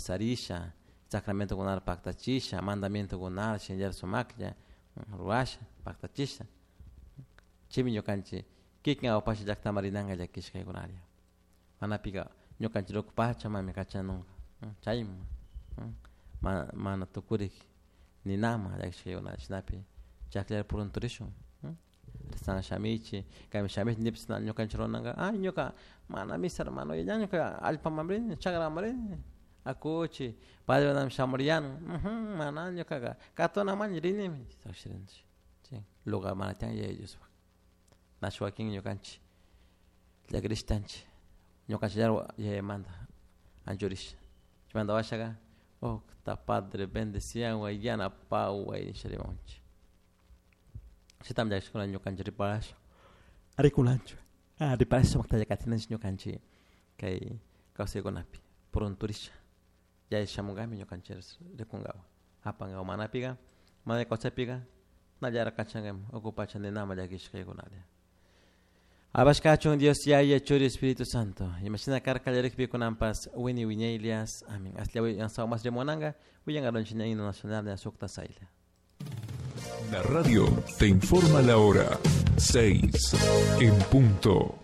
Bautizarisha, sacramentokunata paktachisha, mandamientokunata shinallara sumaklla rurasha paktachisha. Chaymi ñukanchik kikin awpasha llaktaman rinanka llakishkaykunalla. Manapika ñukanchik ruku pachamami kachanunka chayman mana tukurik ninama llakishkaykuna shinapi chakllari purunturishun san shamichi kaymi shamichi nipis ñukanchik runanka ay ñuka mana misa hermano ña ñuka allpaman rini chakraman rini akuchi padre shamuriyan mana ñukaka katunaman rinimi lugar mana tiyan Yaya Diospaj nachu wakin ñukanchik llakirishtanchik ñukanchik Yayamanta anchurisha chaymanta washaka Octa padre bendeciaway yanapaway nisha rimamunchik chaytami llakishkuna ñukanchik riparasha rikunanchik riparasha sumakta katinanchik ñukanchik kay kawsaykunapi purunturisha Yaya shamunkami ñukanchik rikunkawan apankawan manapika mana kawsaypika nallara kachankami uku pacha ninama llakishkaykunalla. Alabashkachun Dios Yaya Churi Espíritu Santo. Imashina karka kallarikpi kunanpas wini wiñaylias. Amén. Aslla mas rimunanka willankaronchik himno nacional de sukta sayla. La radio te informa la hora 6 en punto.